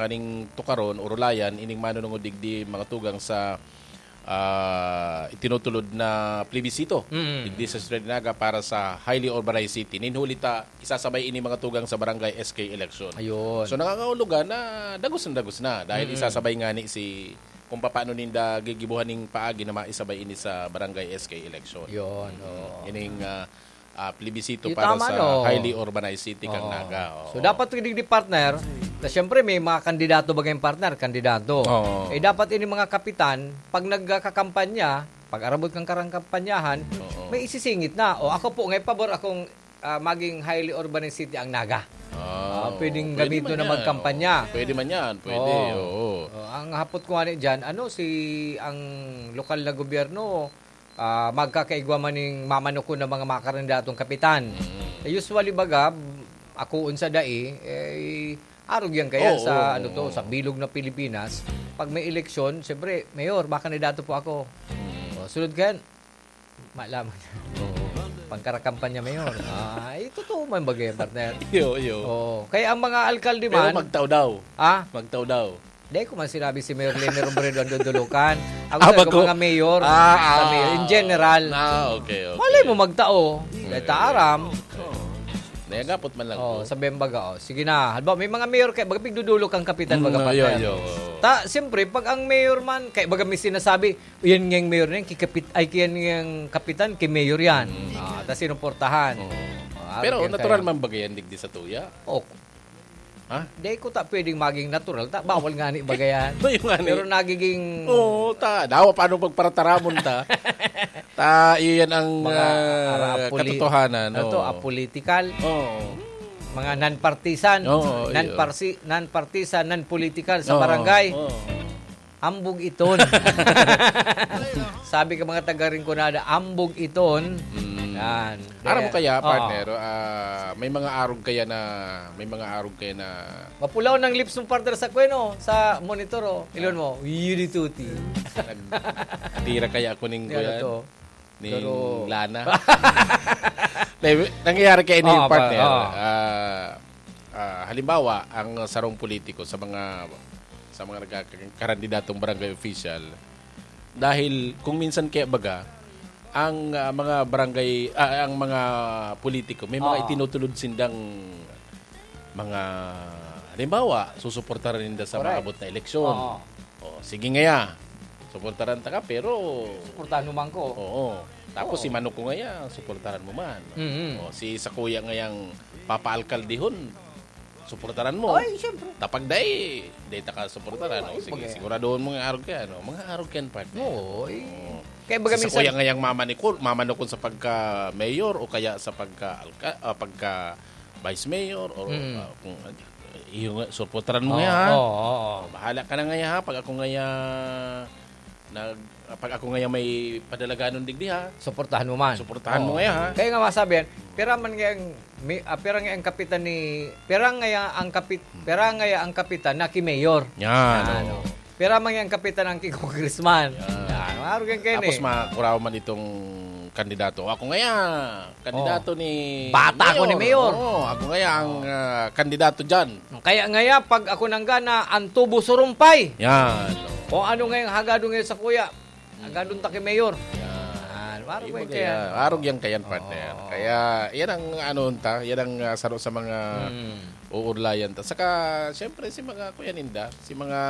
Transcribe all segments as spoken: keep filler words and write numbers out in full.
kaning tukaron, urulayan, ining manunungod digdi mga tugang sa, ah, itinutulod na plebisito Mm. digdi sa Ciudad de Naga para sa highly urbanized city. Nin huli ta, isasabay ini mga tugang sa barangay S K election. Ayun. So, nangangahulugan na dagos na dagos na dahil Mm. isasabay nga ni si kung paano ninda gigibuhan ning paagi na maisabay ini sa barangay S K election. Yun, Mm. oo. Ining, ah, ah, plebisito Yung para tama, sa no? highly urbanized city kang Oo. Naga. Oo. So, dapat digdi, partner, na siyempre may mga kandidato ba kayong partner? Kandidato. Oo. Eh, dapat ini mga kapitan, pag nagkakampanya, pag arabot kang karang kampanyahan, Oo. may isisingit na. O, ako po, ngay pabor akong, ah, maging highly urbanized city ang Naga. Ah, Ah, pwedeng pwede gamiton man na yan. magkampanya. Oo, pwede man yan. Pwede, Oo. oo. Oh, ang hapot ko nga ni dyan, ano, si, ang lokal na gobyerno, ah, magkakaigwa man ning mamanukon ng mga makakandidatong kapitan. Mm. Eh, usually baga, akoon sa dai, eh, arog yan kaya Oo, sa, oo, ano to, oo. sa bilog na Pilipinas. Pag may eleksyon, siyempre, Mayor, makandidato po ako. Mm. O, sunod ka yan, malaman. Oo. Pangkarakampanya, Mayor. Ah, eh, totoo man bagay, partner. Iyo, iyo. Oo. Kaya ang mga alkalde Pero man magtao daw. Ah? Magtao daw. Di ko man sinabi si Mayor Leni Robredo ang dudulukan. Ako Ah, sabi ko, bago? mga mayor. Ah, Sa ah. mayor, in general. Ah, okay, okay. Malay mo magtao. Dahil ta aram. Oo. Nayagapot man lang Oh, ko. sabi ang baga, oh. Sige na. Halimbawa, may mga mayor kaya, baga pigdudulok ang kapitan, Mm, baga, iyo, partner. iyo, oo. Ta, siyempre, pag ang mayor man, kaya baga may sinasabi, "Yan nga yung mayor na yan, kikapit-, ay, kaya nga yung kapitan, kay mayor yan." Mm. Ah, tas sinuportahan. Oo. Ah, Pero kaya natural kaya. man bagay yan, digdi sa tuya? Oh. Ha? Di ko ta pwedeng maging natural, ta, bawal nga ni bagayan. Ito yung nga ni. Pero nagiging Oo, ta. Dawa, paano pagparataramon ta? Ta, iyan ang, Mga ah, ara-, apoli-, katotohanan, ano to, oo. apolitical. Oo. Mga non-partisan. Oo, iyo. Non-parsi-, non-partisan, non-political sa Oo, barangay. oo. Ambog iton. Sabi ka mga taga Rinconada, "Ambog iton." Mm. Yan. Aram mo Kaya, kaya, oo. partner, ah, may mga arog kaya na, may mga arog kaya na Mapulaw ng lips mo, partner, sa kwen, oh, sa monitor, oh. Ilon mo, "Yudituti." Nagtira kaya ako ning Yan kuyan? to. Ning Pero lana? Dahil nangyayari kaya ini, Oo, partner. pa-, oo. Ah, ah, halimbawa, ang sarong politiko sa mga, sa mga nagkakarandidatong barangay official, dahil kung minsan kaya baga, ang, ah, mga barangay, ah, ang mga politiko, may mga Oo. itinutulod sindang mga, halimbawa, susuportaran ninda sa Correct. maabot na eleksyon. Oo. O, sige ngaya, suportaran ta ka, pero Suportahan mo man ko. Oo. Tapos Oo. si Manok ko ngaya, suportaran mo man. Mm-mm. O, si Sakuya ngayang papaalkaldihon, suportaran mo. Ay, siyempre. Tapag dai, dai ta ka suportaran. Oo, O, sige, bagay. siguraduhon mo nga arog ka, no? Mga arog yan, partner. Oo, eh. Oo. Kaya baga Si minsan Sakuya ngayang mamanukon, mamanukon sa pagka-mayor o kaya sa pagka-alka-, ah, pagka-vice mayor o, Mm. ah, kung, ah, iyo nga, suportaran mo Oo, nga, ha? oo, oo. O, bahala ka na nga, ha? Pag ako nga, nag-, pag ako nga may padalaganon digdi, ha? Suportahan mo man. Suportahan mo Oo. nga, ha? Kaya nga masabi yan, pira man nga ang, may, ah, pira nga ang kapitan ni, pira nga ang kapit-, pira nga ang kapitan na ki mayor. Yan, Yan, oo. oh. Pira man nga ang kapitan ang ki congressman. Yan. Yan, maaro yan kayo Tapos ni. makakuraw man itong kandidato. Ako nga yan, kandidato Oh. ni Bata ako ni Mayor. Mayor. Oo, ako nga yan ang, Oh. ah, kandidato dyan. Kaya ngaya, pag ako nanggana, ang tubo surumpay. Yan. Kung ano ngayong hagado ngayon sa kuya, hagadon ta kay Mayor. Yan. Yan. Marog Yung yan mga kaya. yan. Marog yan kayan, partner. Oo. Kaya, yan ang ano ta, yan ang, ah, saro sa mga Mm. uurlayan ta. Saka, siyempre, si mga kuya ninda, si mga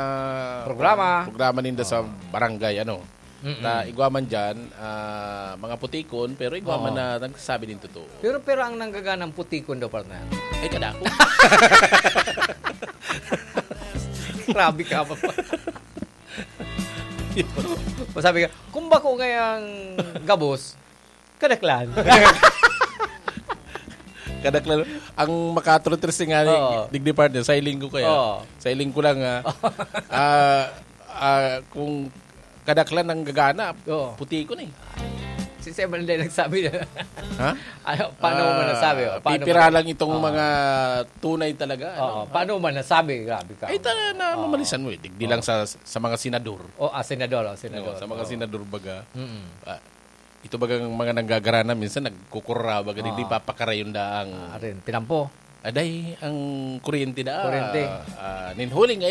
Programa. programa ninda sa Oo. barangay, ano. Mm-mm. Na igwa man dyan, ah, mga putikon, pero igwa man Oo. na nagsasabi din totoo. Pero, pero ang nanggaganang putikon daw, partner. Ay, kadako. Grabe ka, papa. Masabi ka, "Kung bako ngayang gabos, kadaklan." Kadaklan. Ang makatrotres nga ni Oo. digdi, partner, sa iling ko kaya. Oo. Sa iling ko lang, ah, ah, ah, kung kadaklan ang gagana, Oo. puti ko na eh. Si Sir Manday nagsabi na. Ha? Ano, paano mo Ah, nasabi? O, paano pipira mo lang itong Oo. mga tunay talaga, Oo, ano? paano mo nasabi? Grabe ka. Ay, tara na, Oo. mamalisan mo eh. Digdi Oo. lang sa, sa mga senador. O, ah, senador, oh, senador. No, sa mga Oo. senador baga. Mm. Ah, ito bagang mga nanggagarana, minsan nagkukurra, baga, Oo. digdi papakarayon daang Ah, rin, tinampo. Aday, ang kuryente da. Kuryente. Ah, ninhuling, ayan.